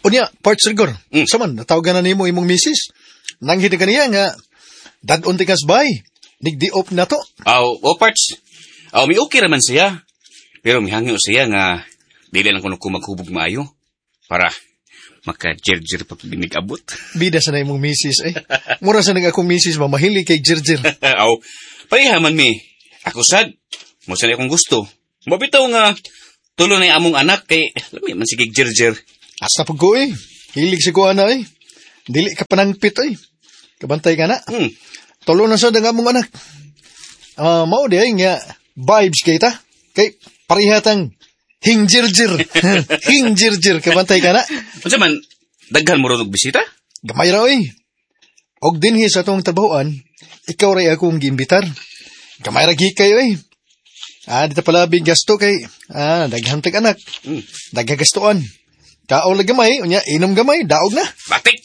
Unya, parts rigor. Saman, natawagan na nimo imong misis. Nanghid na kaniya nga, dad-on ti kas bay. Nigdi-op na to. Aw, o parts. Aw, mi okay raman siya. Pero mihangyo siya nga dili lang kuno ko maghubog maayo para maka-jerjer pa pag abot. Bida sa na imong misis eh. Mura sa nang akong misis mamahili kay Jirjir. Aw, pareha man mi. Ako sad, mo sa akong gusto. Mabitaw nga tulo na among anak kay lami man sige jerjer. Asa pag ko eh. Hilig si ko ana eh. Dili ka panangpit eh. Kabantay ka na. Tulo na sa ang among anak. Ah, mao di ay nga vibes kay ta. Kay parihatang hingjirjir. Hingjirjir, kabantay ka na. Unsa man daghan mo ron og bisita? Gamay ra oy. Og dinhi sa atong trabahoan, ikaw ray akong giimbitar. Gamay ra gikay oy. Ah, dito pala gasto kay daghan tag anak. Daghang gastuan. Kaon lang gamay, unya inom gamay, daog na. Batik.